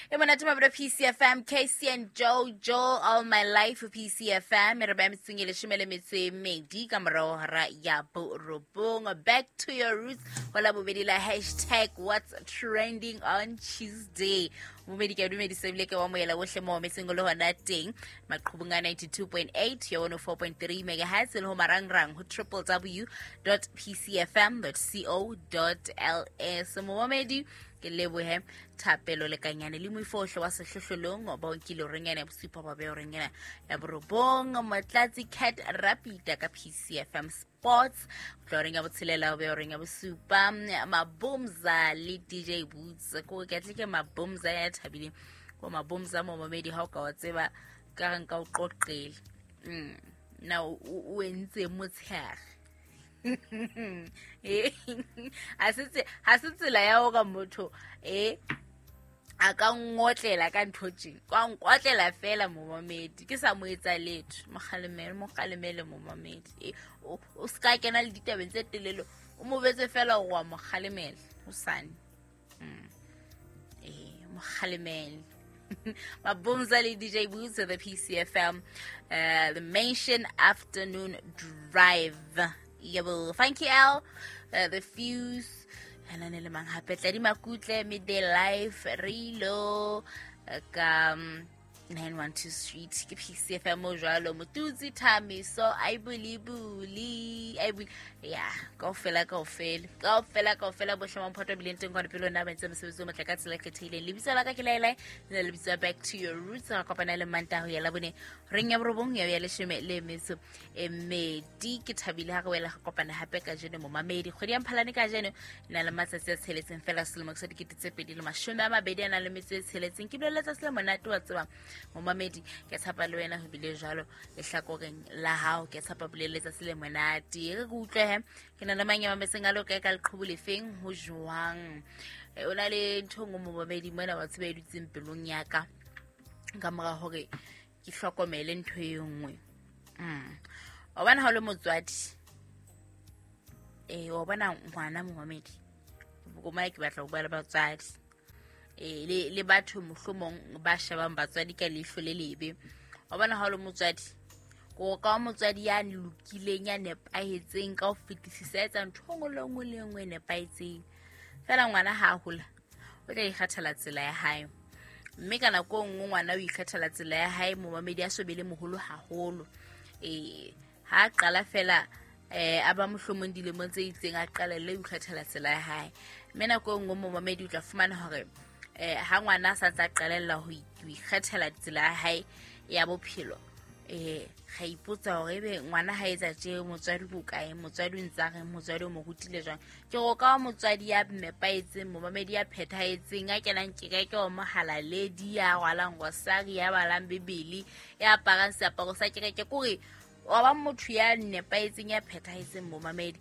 E monate mabelo PCFM, KC and Jojo, All My Life PCFM. E re ba metseng e leshome le metso e mmedi ka morao hora ya borobong. Back to your roots. Ho la bobedi la hashtag what's trending on Tuesday. Bobedi ke a dumedisa ebile ke wa moela ohle mo metseng o le hona teng. Maqhubung a 92.8 ya 104.3 megahertz le ho marangrang ho www.pcfm.co.ls. Momamedi ke lebohe thapelo lekanyane le moifohle wa sehlohlolong ba o nkile horeng ya bosupa ba beha horeng ena ya borobong. Motlatsi Cat Rapida ka PCFM Sports go tla horeng ya botshelela o beha horeng ya bosupa. Mabomza le DJ Boots ko ke tle ke Mabomza ya thabileng ko Mabomza momamedi ha o ka wa tseba ka re nka o qoqele. Na o entse motshehare. Ha se tsela ya hore motho a ka ngotlela ka ntho tje, kwa nkotlela fela momamedi ke sa mo etsa letho. Mokgalemele momamedi, o ska kena le ditabeng tse telele, o mo betse fela hore wa mo kgalemela hosane. Mokgalemele. Mabomza le DJ Boots of the PCFM, the Mansion Afternoon Drive. Yebo, Funky L, The Fuse, and le mang hape Tladi Makutle, Midday Life, Rilo, ka 912 Street, ke PCFM mo jwalo, Motutsi Thamiso, Aibulibuli, Aibuli, ya, kaofela bohle mamphoto bileng teng kwana pele ona ba entse mosebetsi o motle ka tsela e kgethehileng. Lebitso la ka ke Laelai, le lebitso Back to Your Roots. Re kopana le Mantaha ho ya Labone horeng ya borobong ya ya leshome le metso e mmedi. Ke thabile ha re wela re kopana hape kajeno momamedi. Kgwedi ya Mphalane kajeno e na le matsatsi a tsheletseng fela selemo sa 2020 a na le metso e tsheletseng. Ke bile letsatsi le monate wa tseba momamedi, ke tshepa le wena ho bile jwalo lehlakoreng la hao. Ke tshepa bile letsatsi le monate. Re ke utlwe ke na le mang ya mametseng a le kae ka leqhubu lefeng ho jwang. O na le ntho e nngwe momamedi mona wa tseba e dutseng pelong ya ka ka mora hore ke hlokomele ntho e nngwe. Wa bona ha o le motswadi, wa bona ngwana momamedi, bo ke batla ho bua le batswadi le batho mohlomong ba shebang batswadi ka leihlo le lebe. Wa bona ha o le motswadi, ko ka motswadi ya lokileng ya nepahetseng ka ho fetisisa, etsa ntho nngwe le nngwe le nngwe e nepahetseng. Fela ngwana ha a hola o tla ikgethela tsela ya hae, mme ka nako e nngwe ngwana o ikgethela tsela ya hae momamedi a so be le moholo haholo. Ha a qala fela a ba mohlomong dilemong tse itseng a qalelle ho ikgethela tsela ya hae, mme nako e nngwe momamedi o tla fumana hore ha ngwana a sa ntse a qalella ho ikgethela tsela ya hae ya bophelo, ga ipotsa hore ebe ngwana ha etsa tje motswadi ko kae, motswadi o ntse a reng, motswadi o mo rutile jwang. Ke go ka motswadi ya nepahetseng momamedi ya phethahetseng, a kenang kereke wa mohalaledi, ya rwalang rosari, ya balang Bibele, ya aparang seaparo sa kereke, kore wa ba motho ya nepahetseng ya phethahetseng momamedi.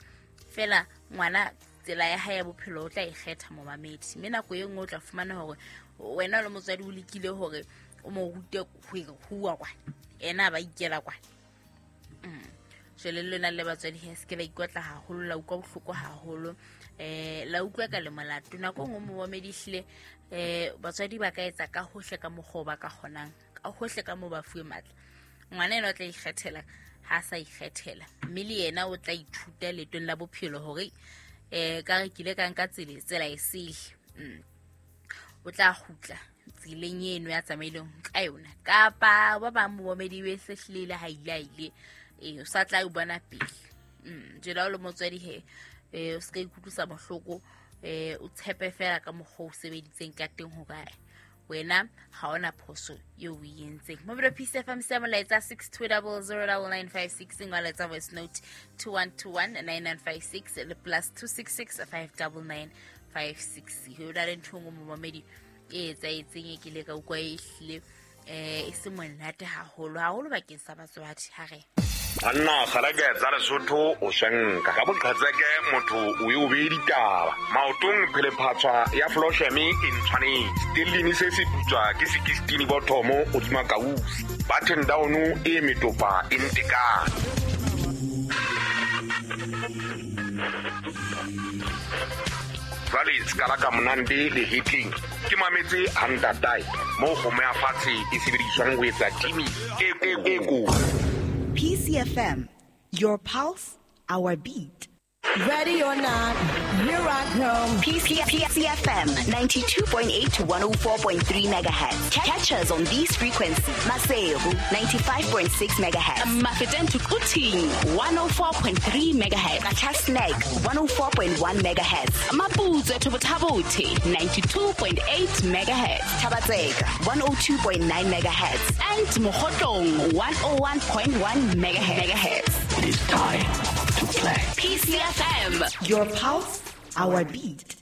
Fela ngwana tsela ya hae ya bophelo o tla ikgetha momamedi, mme nako e nngwe o tla fumana hore wena o le motswadi o lekile hore o mo rute ho huwa kwana, ena ba ikela kwana. Jwale le lona le batswadi he se ke la ikotla haholo, la utlwa bohloko haholo, la utlwa ka le molato. Nako e nngwe momamedi ehlile batswadi ba ka etsa ka hohle ka mokgwa o ba ka kgonang, ka hohle ka moo ba fuwe matla. Ngwana ena o tla ikgethela ha sa ikgethela, mme le yena o tla ithuta leetong la bophelo hore ka re kile ka nka tsela e sele. O tla kgutla tseleng eno ya tsamaileng ka yona, kapa ba bang momamedi be se hlile ha ile ile o sa tla o bona pele. Jwale ha o le motswadi he o se ka ikutlwisa bohloko, o tshepe fela ka mokgwa o sebeditseng ka teng hore wena ha ona phoso eo o e entseng. Mobile PCFM se molaetsa 62009956, ngwaletsa voice note 21219956 le plus 266 59956. Ho na le ntho e nngwe momamedi e etsahetseng e ke ile ka utlwa e hlile e se monate haholo haholo bakeng sa batswadi. Ha re Banna kgalake tsa Lesotho o swenka ka boqhetseke, motho o e o beye ditaba maotong, phelephatshwa ya flosheme e ntshwanetse stellini se se putswa ke sekistini bothomo hodima kausi button down e metopa e ntekane. Jwale ska la ka monande lehetleng ke mametse ha ntatae moo kgomo ya fatshe e sebediswang ho etsa timi e kotsi. PCFM, your pulse, our beat. Ready or not, here I come. PCFM 92.8 to 104.3 megahertz. Catch us on these frequencies. Maseru 95.6 megahertz. Mafeteng to Quthing 104.3 megahertz. Qacha's Nek 104.1 megahertz. Maputswe to Botha-Bothe 92.8 megahertz. Thaba-Tseka 102.9 megahertz. And Mokhotlong 101.1 megahertz. It is time to play. PCFM, your pulse, our beat.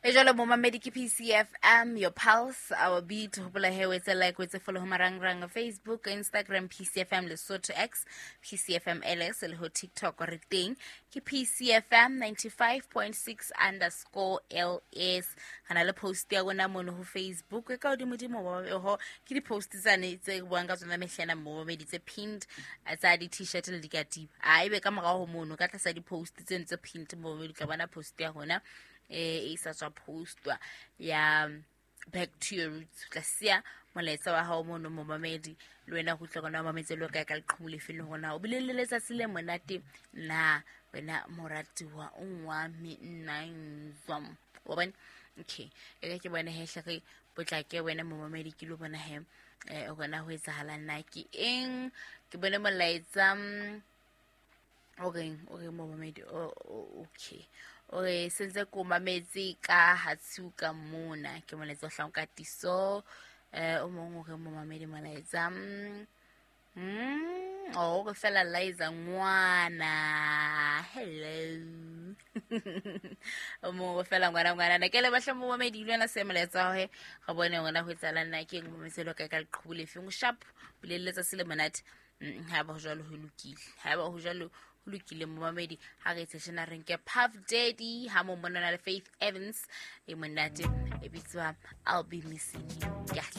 E jwalo momamedi ke PCFM, your pulse, our beat. Hopola he o etse like, o etse follow ho marangrang Facebook, Instagram, PCFM Lesotho X, PCFM LS le ho TikTok re teng ke PCFM 95.6 underscore LS. Hana le post ya rona mono ho Facebook e ka hodimodimo ho ke di-post tsane tse buang ka tsona mehlena momamedi tse pinned tsa di-t-shirt le dikatiba. A ebe ka morao ho mono ka tlasa di-post tseno tse pinned momamedi tla bona post ya rona e sa tswa postwa ya back to your roots. Tla siya molaetsa wa hao mono momamedi le wena go tla gona mametse le ka ka leqhubu lefe le hona o bile le letsatsi le monate na wena moratiwa o wa me nna nzwa wa bona. Okay, e ke bona he hle re potlake wena momamedi ke lo bona he o gona ho etsahala nna ke eng ke bone molaetsa o reng momamedi. Okay, ore sentse ko mametse ka hatshuka mona ke molaetsa o hlang ka tiso o mong o re momamedi molaetsa o re fela Liza ngwana hello o mong o fela ngwana na ke le bahla momamedi le wena se molaetsa he ga bone ngwana ho etsala nna ke eng mometse lo ka ka leqhubu lefeng sharp bolelletsa se le monate. Ha ba ho jwalo ho lokile, ha ba ho jwalo ho lokile momamedi. Ha re tseshena re nke Puff Daddy ha mo mona le Faith Evans e monate e bitswa I'll Be Missing You.